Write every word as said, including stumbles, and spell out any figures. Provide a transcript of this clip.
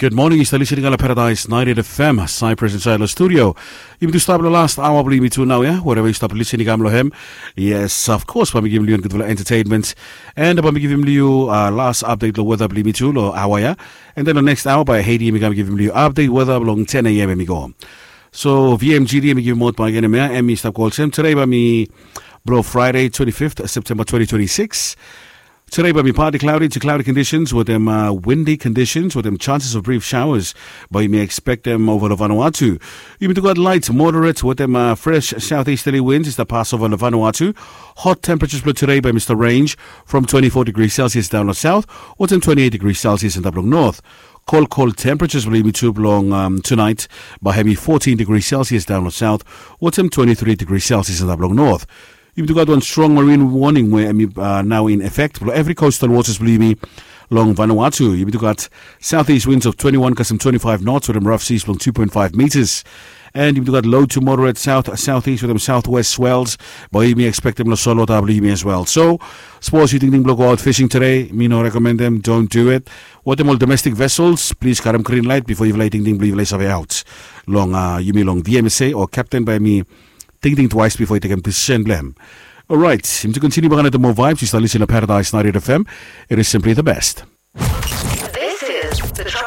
Good morning, yu stap listening long Paradise ninety-eight F M, Cyprus inside the studio. Yumi tu stap long last hour bilong yumi tu nau ya, wherever yu stap listening kam long hem. Yes, of course, bae mi givim long yu gudfala entertainment. And bae mi givim long yu uh, last update long weather bilong yumi tu long hour ya. And then the next hour bae Haiti yumi kam givim long yu update weather bilong ten a.m. yumi go. So V M G D yumi givim out bae givim ya, and mi stap go olsem. Today bae mi blo Friday twenty-fifth September twenty twenty-six. Today bae mi partly cloudy to cloudy conditions with them uh, windy conditions with them chances of brief showers. Bae yumi expect them over the Vanuatu. Yumi tu gat light moderate with them uh, fresh southeasterly winds is the pass over the Vanuatu. Hot temperatures for today bae mi stap range from twenty-four degrees Celsius down the south with them twenty-eight degrees Celsius in the north. Cold, cold temperatures will be to belong um, tonight by hemi fourteen degrees Celsius down the south with them twenty-three degrees Celsius in the north. Yumi tu gat wan strong marine warning we hemi uh, now in effect. Blo every coastal waters blo yumi long Vanuatu. Yumi tu gat southeast winds of twenty-one kasem twenty-five knots with them rough seas blo two point five meters. And yumi tu gat low to moderate south southeast with them southwest swells. Bae yumi expect them lo solwota blo yumi as well. So, suppose yu tingting blo go out fishing today, mi no recommend them, don't do it. With them all domestic vessels, please karem green light before yufala tingting blo yufala save out. Long uh, yumi long V M S A or captain bae mi tingting twice before yu tekem decision blo hem. Alright, yumi tu continue back on the more vibes. Yu stap listening to Paradise ninety-eight F M. It is simply the best. This is the Tropical